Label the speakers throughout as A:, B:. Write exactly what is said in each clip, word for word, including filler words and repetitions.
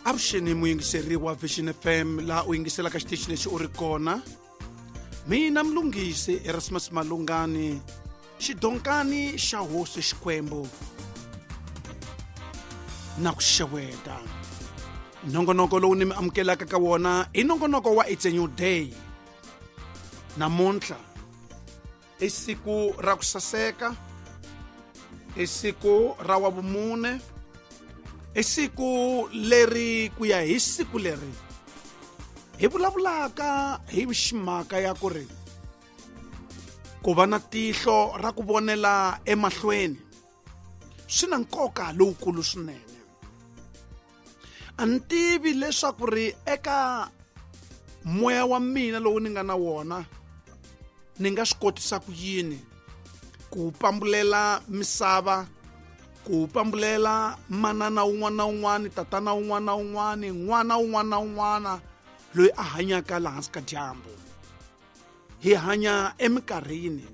A: Avuxeni muyingiseri wa Vision F M laha u yingiselaka xitichi lexi u ri kona. Mina Mlungisi Erasmus Malungani, xidonkani xa hosi Xikwembu na ku xeweta. Nongonoko lowu ni mi amukelaka ka wona i nongonoko wa It's a New Day. Namuntlha i siku ra ku saseka, i siku ra wa vumune, i siku leri ku ya hi siku leri hi vulavulaka hi ximhaka ya ku ri ku va na tihlo ra ku vonela emahlweni swi na nkoka lowukulu swinene. A ni tivi leswaku ri eka moya wa mina lowu ni nga na wona ni nga swi kotisa ku yini ku pambulela misava, ku pambulela manana un'wana na un'wana, tatana un'wana na un'wana, n'wana un'wana na un'wana loyi a hanyaka laha hansi ka dyambu. Hi hanya eminkarhini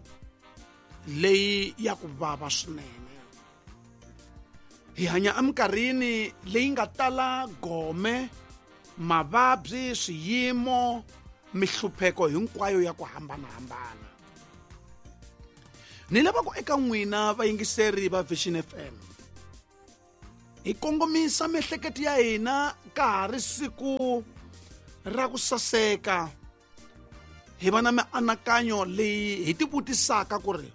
A: leyi ya ku vava swinene. Hi hanya eminkarhini leyi nga tala gome, mavabyi, swiyimo, mihlupheko hinkwayo ya ku hambanahambana. Ni lava ku eka n'wina vayingiseri va Vision F M hi kongomisa miehleketo ya hina ka ha ri siku ra ku saseka, hi va na mianakanyo leyi hi tivutisaka ku ri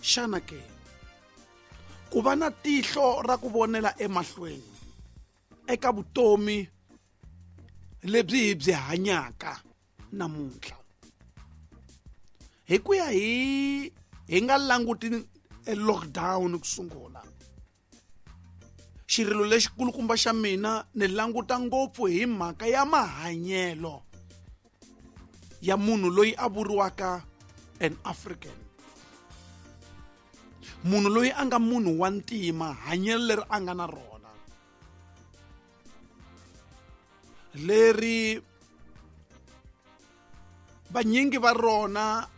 A: xana ke ku va na tihlo ra ku vonela emahlweni eka vutomi lebyi hi byi hanyaka namuntlha, hi ku ya hi hi nga languti lockdown ku sungula. Xirilo lexikulukumba xa mina ni languta ngopfu hi mhaka ya mahanyelo ya munhu loyi a vuriwaka an African, munhu loyi a nga munhu wa ntima, hanyelo leri a nga na rona leri vanyingi va rona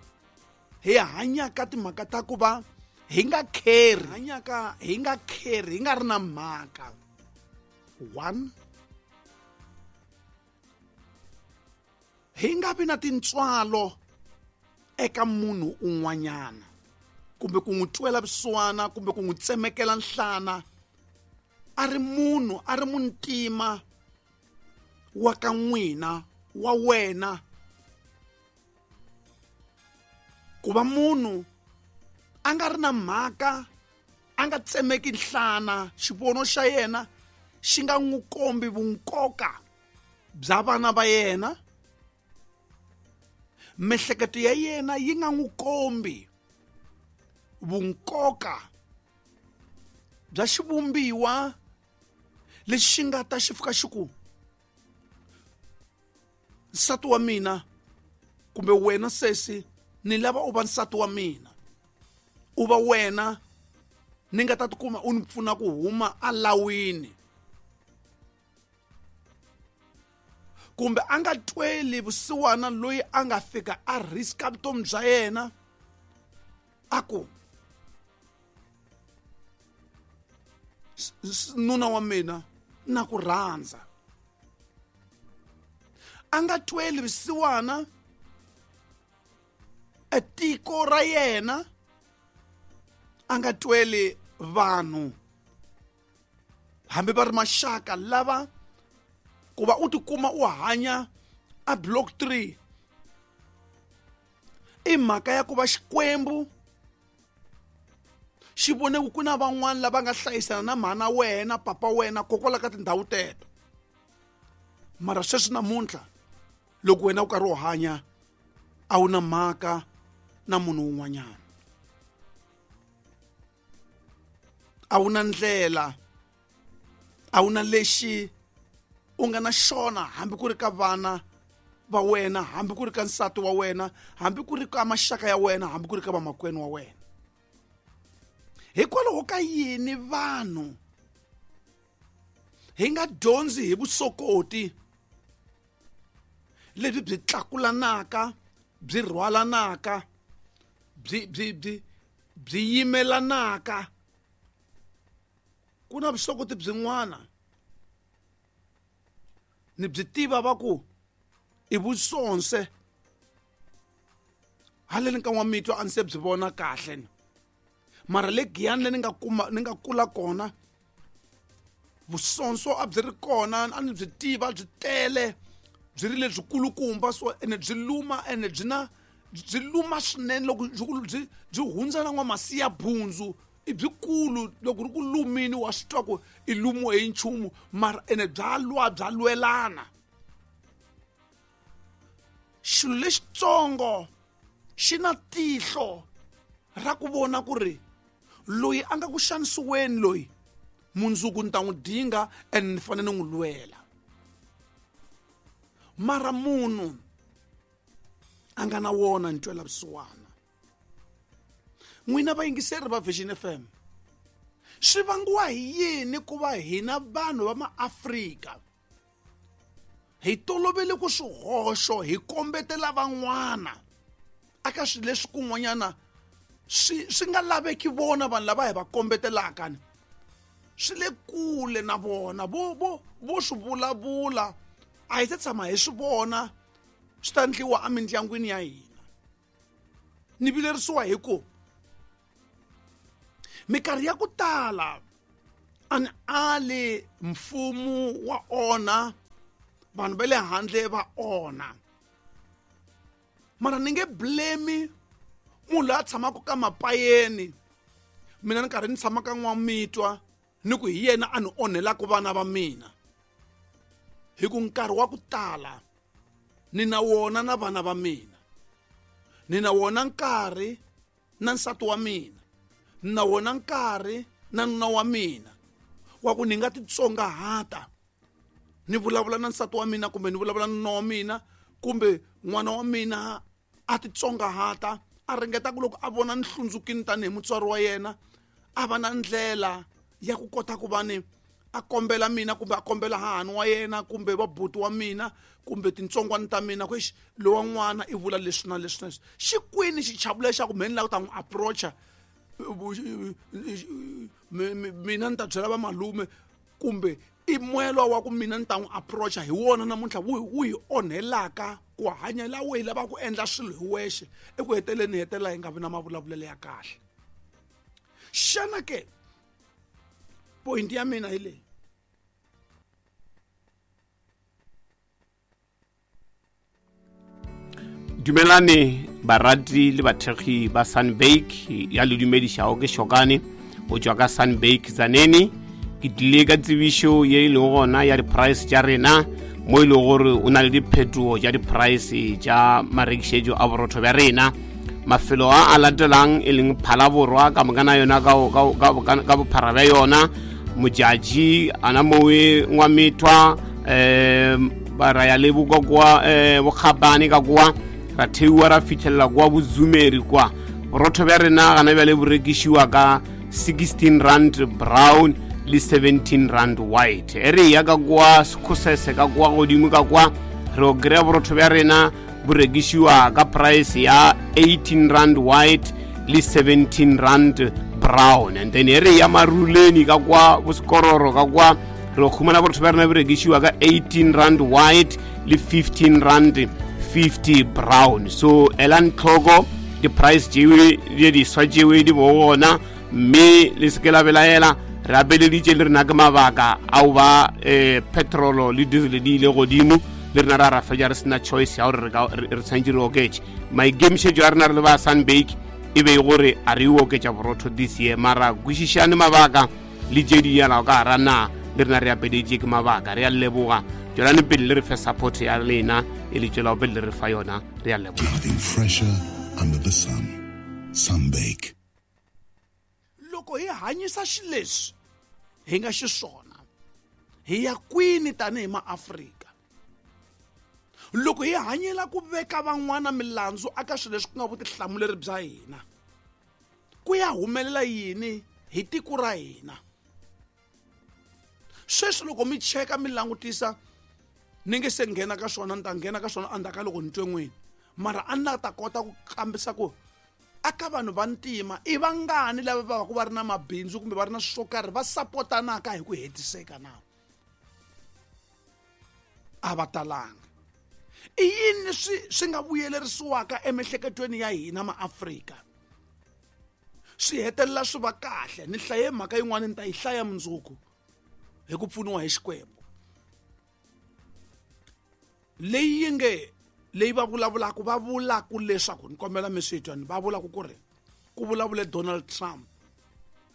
A: hi hanyaka timhaka ta ku va hi nga kheri, hanyaka hi nga kheri, hi nga ri na mhaka. One, hi nga vi na tintswalo eka munhu un'wanyana, kumbe ku n'wi twela vusiwana, kumbe ku n'wi tsemekela nhlana a ri munhu, a ri muntima wa ka n'wina, wa wena. Ku va munhu a nga ri na mhaka, a nga tsemeki nhlana, xivono xa yena xi nga n'wi kombi vunkoka bya vana va yena, miehleketo ya yena yi nga n'wi kombi vunkoka bya xivumbiwa lexi xi nga ta xi fika xi ku nsati wa mina, kumbe wena sesi ni lava u va nsati wa mina, u va wena ni nga ta tikuma u ni pfuna ku huma alawini, kumbe a nga tweli vusiwana loyi a nga fika a riska vutomi bya yena a ku nuna wa mina na ku rhandza. A nga tweli vusiwana tiko ra yena, a nga tweli vanhu hambi va ri maxaka lava ku va u tikuma u hanya a block three i mhaka ya ku va Xikwembu xi vone ku na van'wana lava nga hlayisana na mhana wena, papa wena, kokwala ka tindhawu teto. Mara sweswi namuntlha loko wena u karhi u hanya a wu na mhaka na munhu un'wanyana, a wu na ndlela, a wu na lexi u nga na xona hambi ku ri ka vana va wena, hambi ku ri ka nsati wa wena, hambi ku ri ka maxaka ya wena, hambi ku ri ka vamakwenu wa wena. Hikwalaho ka yini vanhu hi nga dyondzi hi vusokoti lebyi byi tlakulanaka, byi rhwalanaka, byi byi byi byi yimelanaka? Ku na vusokoti byin'wana Ni byi tiva va ku i vusonse haleni ka N'wamitwa a ni se byi vona kahle ni mara le Giyani le ni nga kuma ni nga kula kona vusonso a byi ri kona a ni byi tiva byi tele byi ri lebyikulukumba so ene byi luma ene byi na byi luma swinene loko byi byi hundza na n'wamasiya bundzu i byikulu loko ri ku lumini wa swi twa ku i lumiwe hi nchumu mara ene bya lwa bya lwelana. Xilo lexitsongo xi na tihlo ra ku vona ku ri loyi a nga ku xanisiweni loyi mundzuku ni ta n'wi dinga and ni fanele ni n'wi lwela. Mara munhu a nga na wona ntwela vusiwana. N'wina vayingiseri va Vision F M, swi vangiwa hi yini ku va hina vanhu va maAfrika hi tolovele ku swihoxo hi kombetela van'wana aka swilo leswi kun'wanyana swi swi nga laveki vona vanhu lava hi va kombetelaka ni swi le kule na vona vo vo vo swi vulavula a hi se tshama hi swi vona swi ta endliwa emindyangwini ya hina. Ni vilerisiwa hi ku minkarhi ya ku tala a ni ali mfumo wa onha vanhu va le handle va onha mara ni nge blame munhu loyi a tshamaka ka mapayeni mina ni karhi ni tshama ka N'wamitwa ni ku hi yena a ni onhelaka vana va mina hi ku nkarhi wa ku tala ni na wona na vana va mina ni na wona nkarhi na nsati wa mina ni na wona nkarhi na nuna wa mina wa ku ni nga titsongahata ni vulavula na nsati wa mina kumbe ni vulavula na nuna wa mina kumbe n'wana wa mina a titsongahata a ringeta ku loko a vona ni hlundzukini tanihi mutswari wa yena a va na ndlela ya ku kota ku va ni a kombela mina kumbe a kombela hahani wa yena kumbe vabuti wa mina kumbe tintsongwana ta mina ku exi lowa n'wana i vula leswi na leswi na leswi xi kwini xichavo lexi xa ku mhe ni lava ku ta n'wi approacha mina ni ta byela vamalume kumbe i moya wa ku mina ni ta n'wi approacha hi wona namuntlha wu wu hi onhelaka ku hanya la we hi lava ku endla swilo hi wexe eku heteleni hi hetelela hi nga vi na mavulavulelo ya kahle. Xana ke point ya mina hi leyi
B: Dumelane barati le bathekgi ba Sunbake ya le dumedišago ke Shokane o tšwa ka Sunbake Tzaneen. Ke tlile ka tsebišo ye e lego gona ya di-price tša rena mo e lego gore o na le diphetogo tša di-price tša marekišetšo a borotho bja rena. Mafelo a a latelang e leng Phalaborwa ka mokana yona ka bophara bja yona Modjadji ana mowe N'wamitwa um ra ya le bokwa kwa um Bokgabane ka kwa ra theiwa ra fitlhelela kwa Bozumeri kwa. Borotho bja rena gana bjale bo rekišiwa ka sixteen rand brown le seventeen rand white. E re ya ka kwa Sekhosese ka kwa godimo ka kwa re o kry-a borotho bja rena bo rekišiwa ka price ya eighteen rand white le seventeen rand brown. And then e re ya Maruleni ka kwa Bosekororo ka kwa re khumana borotho bja rena bo rekišiwa ka eighteen rand white le fifteen rand fifty brown. So elang tlhoko di-price tšewe di diswa tšewe di bo gona mme le se ke la belaela re apeleditše le rena ke mabaka ao ba um petrolo le diesel di ile godimo le rena ra ra fetša re sena choice ya gore re tshwanetse re oketše. Maikemišetšo a rena re le ba Sunbake e be gore a re oketša borotho this year mara kwešišane mabaka le tše di yalago ka gara na le rena re apeleditše ke mabaka. Re a leboga, tšwelane pele le re fe support ya lena e le tšwelago pele le re fa yona. Re a leboga.
C: Nothing fresher under the sun. Sunbake.
A: Loko hi hanyisa xileswi hi nga xiswona hi ya kwini tanihi maAfrika loko hi hanyela ku veka van'wana milandzu aka swilo leswi ku nga vutihlamuleri bya hina ku ya humelela yini hi tiko ra hina. Sweswi loko mi cheka mi langutisa ni nge se nghena ka swona ni ta nghena ka swona endzhaku ka loko ni twe n'wini mara a ni la ta kota ku kambisa ku aka vanhu va ntima i vangani lava va va ku va ri na mabindzu kumbe va ri na swo karhi va sapotanaka hi ku hetiseka na. a va talanga. I yini leswi swi nga vuyelerisiwaka emiehleketweni ya hina maAfrika swi hetelela swi va kahle? Ni hlaye mhaka yin'wana ni ta yi hlaya mundzuku hi ku pfuniwa hi Xikwembu, leyi yi nge leyi va vulavulaka va vulaka leswaku ni kombela mi swi twa, ni va vulaka ku ri ku vulavule Donald Trump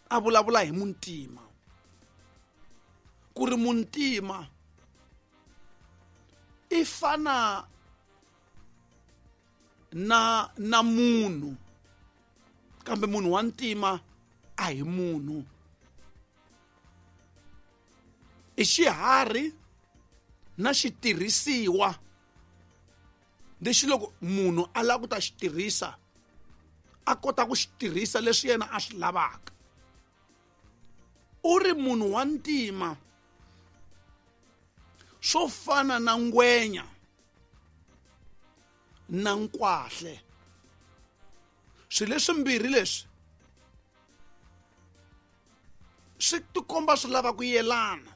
A: a vulavula hi muntima, ku ri muntima i fana na na munhu, kambe munhu wa ntima a hi munhu, i xiharhi na xitirhisiwa lexi loko munhu a lava ku ta xi tirhisa a kota ku xi tirhisa leswi yena a swi lavaka. U ri munhu wa ntima swo fana na ngwenya na nkwahle, swilo leswimbirhi leswi swi tikomba swi lava ku yelana,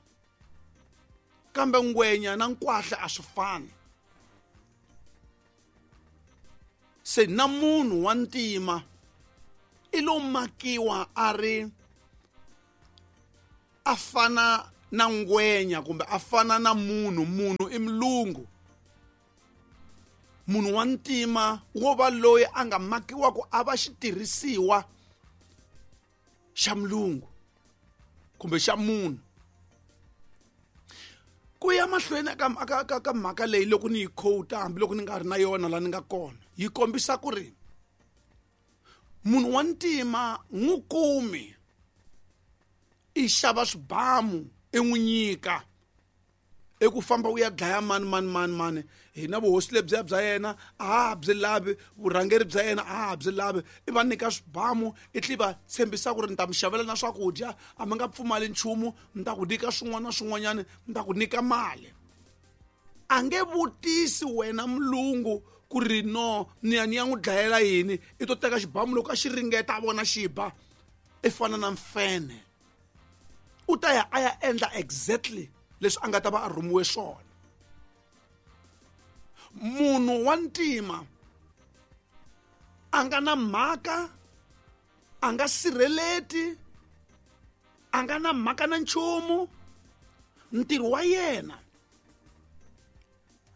A: kambe ngwenya na nkwahle a swi fani. Se na munhu wa ntima i lo makiwa a ri a fana na ngwenya kumbe a fana na munhu. Munhu i mulungu, munhu wa ntima wo va loyi a nga makiwa ku a va xitirhisiwa xa mulungu kumbe xa munhu. Ku ya mahlweni ka ka ka mhaka leyi loko ni yi quote hambiloko ni nga ri na yona la ni nga kona, yi kombisa ku ri munhu wa ntima n'wi kumi i xava swibamu i n'wi nyika i ku famba u ya dlaya mani mani mani mani, hina vuhosi lebyiya bya yena a ha byi lavi, vurhangeri bya yena a ha byi lavi, i va nyika swibamu i tlhe va tshembisa ku ri ni ta mi xavela na swakudya, a mi nga pfumali nchumu, ni ta ku nyika swin'wana na swin'wanyana, ni ta ku nyika mali. A nge vutisi wena mulungu ku ri no ni ya ni ya n'wi dlayela yini, i to teka xibamu loko a xi ringeta a vona xi ba, i fana na mfene, u ta ya a ya endla exactly leswi a nga ta va a rhumiwe swona. Munhu wa ntima a nga na mhaka, a nga sirheleti, a nga na mhaka na nchumu. Ntirho wa yena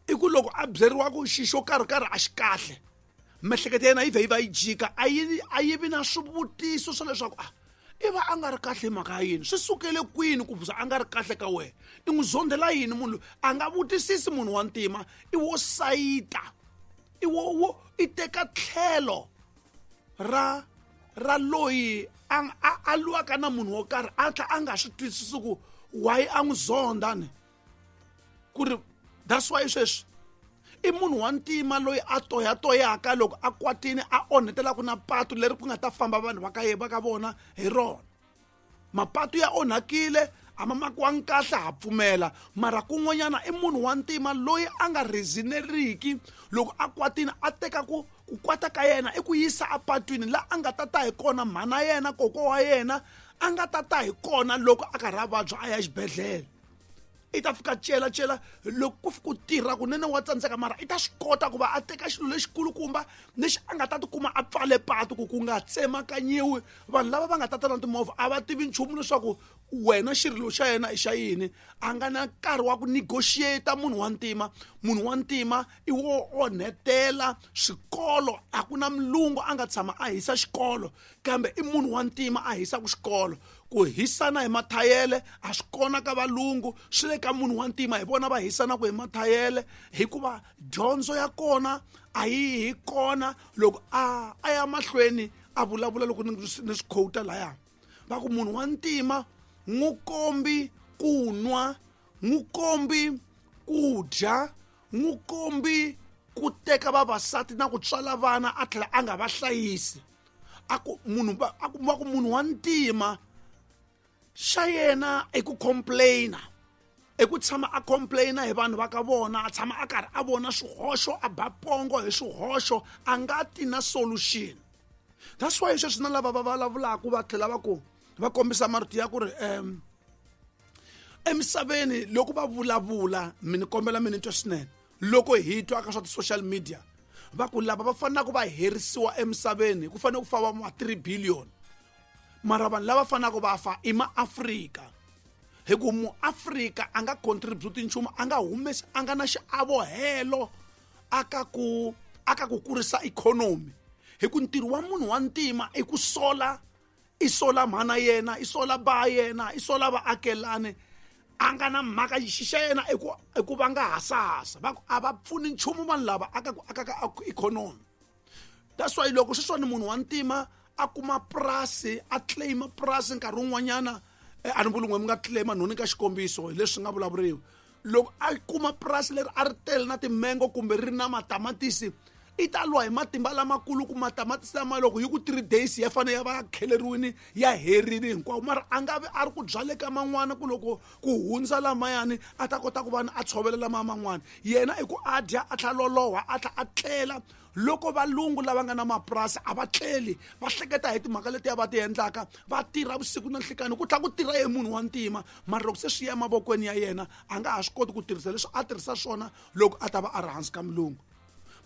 A: i ku loko a byeriwa ku xi xo karhi karhi a xi kahle, miehleketo ya yena yi vhe yi va yi jika, a yi a yi vi na swivutiso swa leswaku a i va a nga ri kahle hi mhaka ya yini, swi sukele kwini ku za a nga ri kahle ka wena, i n'wi zondela yini munhu loyi? A nga vutisisi munhu wa ntima, i wo sayita, i wo wo i teka tlhelo ra ra loyi a a a lwaka na munhu wo karhi, a tlhela a nga swi twisisi ku why a n'wi zonda ni ku ri that's why sweswi i munhu wa ntima loyi a toyatoyaka loko a kwatini a onhetelaka na patu leri ku nga ta famba vanhu va ka va ka vona hi rona. Mapatu ya onhakile, a ma makiwangi kahle, ha pfumela, mara kun'wanyana i munhu wa ntima loyi a nga reasoneriki loko a kwatini, a teka ku ku kwata ka yena i ku yisa apatwini la a nga ta ta hi kona mhana yena, kokwa wa yena a nga ta ta hi kona loko a karhi a vabya a ya xibedhlele. I ta fika cela cela loko ku fika ku tirha kunene wa tsandzeka, mara i ta swi kota ku va a teka xilo lexikulukumba lexi a nga ta tikuma a pfale patu ku ku nga tsemakanyiwi vanhu lava va nga ta ta na timovha a va tivi nchumu leswaku wena xirilo xa yena i xa yini. A nga na nkarhi wa ku negotiate munhu wa ntima. Munhu wa ntima i wo onhetela swikolo, a ku na mulungu a nga tshama a hisa xikolo, kambe i munhu wa ntima a hisaka xikolo. Ku hisana hi mathayele a swi kona ka valungu, swi le ka munhu wa ntima, hi vona va hisanaka hi mathayele, hikuva dyondzo ya kona a yi hi kona. Loko a a ya mahlweni a vulavula loko ni ni swi quote laya, va ku munhu wa ntima n'wi kombi ku nwa, n'wi kombi ku dya, n'wi kombi ku teka vavasati na ku tswala vana a tlhela a nga va hlayisi. A ku munhu va, a ku, va ku munhu wa ntima xa yena i ku complaina, i ku tshama a complaina hi vanhu va ka vona, a tshama a karhi a vona swihoxo, a ba pongo hi swihoxo, a nga ti na solution. That's why sweswi na lava va vulavulaka va tlhela va ku va kombisa marito ya ku ri, um, Emisaveni loko va vulavula mi ni kombela mi ni twa swinene loko hi twa ka swa ti-social media va ku lava va fanelaka va herisiwa emisaveni ku fanele ku fa va ma three billion mara vanhu lava fanelaka va fa i maAfrika hi ku muAfrika a nga contribute nchumu a nga humesi a nga na xiavo aka ku aka ku kurisa ikhonomi hi ku ntirho wa munhu wa ntima i ku sola i sola mhana yena i sola ba yena i sola vaakelani a nga na mhaka xixa yena i ku i ku va nga hasahasa va ku a va pfuni nchumu vanhu lava aka ku aka ka ikhonomi. That's why loko sweswiwani munhu wa ntima a kuma purasi a claim purasi nkarhi wun'wanyana a ni vuli n'we mi nga claim nhoni ka xikombiso hi leswi nga vulavuriwa loko a kuma purasi leri a ri tele na timengo kumbe ri na matamatisi i ta lwa hi matimba lamakulu ku matamatisi lama loko hi ku three days ya fanele ya va ya kheleriwini ya herini hinkwawo mara a nga vi a ri ku byale ka man'wana ku loko ku hundza lamayani a ta kota ku va a tshovela lama man'wana yena i ku a dya a tlhela loloha a tlhela a tlela. Loko valungu lava nga na mapurasi a va tleli va hleketa hi timhaka letiya va ti endlaka va tirha vusiku na nhlikani ku tlhela ku tirha ye munhu wa ntima mara loko se swi ya emavokweni ya yena a nga ha swi koti ku tirhisa leswi a tirhisa swona loko a ta va a ri hansi ka mulungu.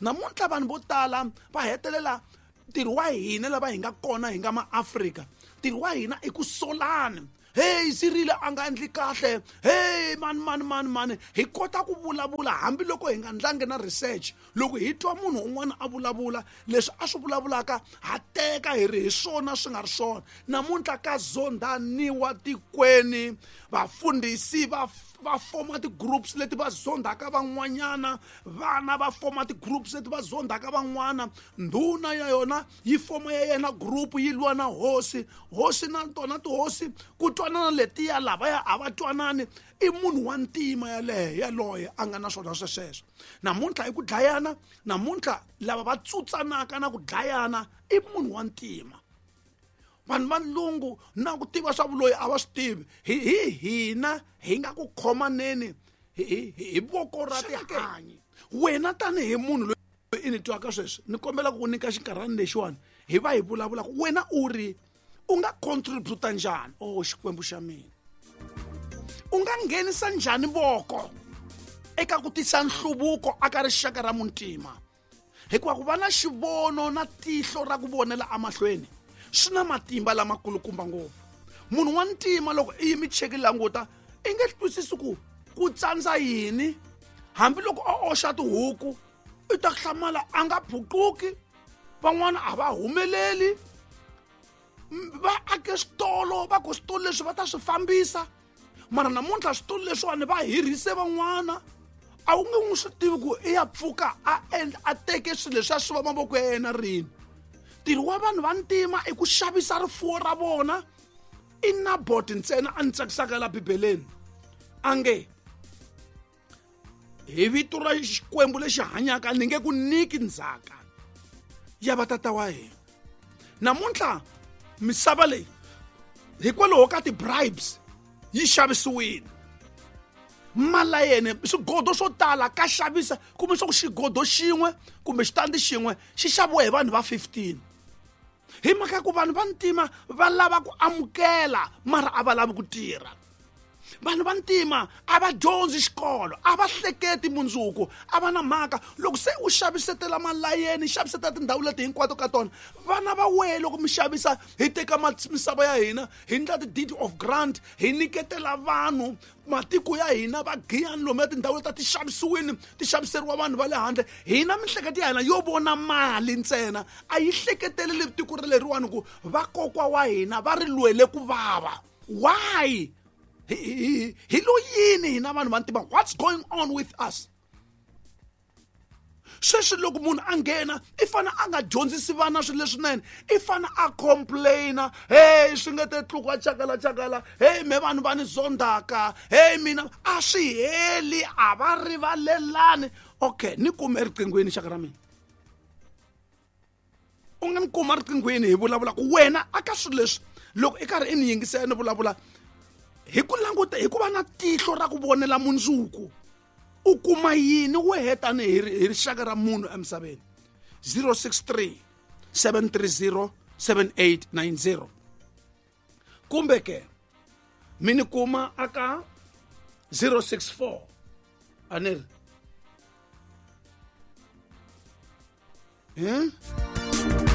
A: Namuntlha vanhu vo tala va hetelela ntirho wa hina lava hi nga kona hi nga maAfrika ntirho wa hina i ku solana. Hey Cyril a nga endli kahle hey mani mani mani mani hi kota ku vulavula hambiloko hi nga ndlangi na research loko hi twa munhu un'wana a vulavula leswi a swi vulavulaka ha teka hi ri hi swona swi nga ri swona. Namuntlha ka zondhaniwa tikweni vafundhisi va va foma ti-groups leti va zondhaka van'wanyana vana va foma ti-groups leti va zondhaka van'wana ndhuna ya yona yi foma ya yena group yi lwa na hosi hosi na tona tihosi ku twanana letiya lavaya a va twanani i munhu wa ntima yaleyo yaloye a nga na swona swesweswo. Namuntlha i ku dlayana namuntlha lava va tsutsanaka na ku dlayana i munhu wa ntima. Vanhu va lungu na ku tiva swa vuloyi a va swi tivi hi hi hina hi nga ku khomaneni hi hi voko ra tihanyi. Wena tanihi munhu loyi i ni twaka sweswi ni kombela ku nyika xinkarhana lexiwani hi va hi vulavulaka wena u ri u nga contribute njhani oh Xikwembu xa mina u nga nghenisa njhani voko eka ku tisa nhluvuko aka rixaka ra muntima hikuva ku va na xivono na tihlo ra ku vonela emahlweni swi na matimba lamakulukumba ngopfu. Munhu wa ntima loko i yimi cheki languta i nge twisisi ku ku tsandza yini hambiloko a oxa tihuku i ta hlamala a nga phuquki van'wana a va humeleli va ake switolo va ku switolo leswi va ta swi fambisa mara namuntlha switolo leswiwani va hirhise van'wana a wu nge n'wi swi tivi ku i ya pfuka a endla a teke swilo leswi a swi va mavoko ya yena rini. Ntirho wa vanhu va ntima i ku xavisa rifuwo ra vona i Nabot ntsena a ni tsakisaka la Bibeleni a nge hi vito ra Xikwembu lexi hanyaka ni nge ku nyiki ndzhaka ya vatata wa hina. Namuntlha misava leyi hikwalaho ka ti-bribes yi xavisiwile malayene swigodo swo tala ka xavisa kumbe swa ku xigodo xin'we kumbe xitandi xin'we xi xaviwa hi vanhu va fifteen hi mhaka ku vanhu va ntima va lava ku amukela mara a va lavi ku tirha. Vanhu va ntima a va dyondzi xikolo a va hleketi mundzuku a va na mhaka loko se u xavisetela malayeni xavisetela tindhawu leti hinkwato ka tona vana va wehe loko mi xavisa hi teka misava ya hina hi ndla ti-deed of grant hi nyiketela vanhu matiko ya hina va giyani lomu ya tindhawu leti ti xavisiwini ti xaviseriwa vanhu va le handle hina mihleketo ya hina yo vona mali ntsena a yi hleketeleli tiko leriwani ku vakokwa wa hina va ri lwele ku vava. Why hi lo yini hina vanhu va ntima? What's going on with us? Sweswi loko munhu a nghena i fane a nga dyondzisi vana swilo leswinene i fane a complaina hey swi nge te tluka chakala chakala hey me vanhu va ni zondhaka hey mina a swi heli a va rivalelani. Okay ni kume eriqinghweni xaka ra mina u nga ni kuma riqinghweni hi vulavula ku wena aka swilo leswi loko i karhi i ni yingisela ni vulavula hi ku languta hi ku va na tihlo ra ku vonela mundzuku u kuma yini wehe tanihi hi rixaka ra munhu emisaveni. Zero six three seven three zero seven eight nine zero kumbe ke mi ni kuma aka zero six four a ni ri hmm?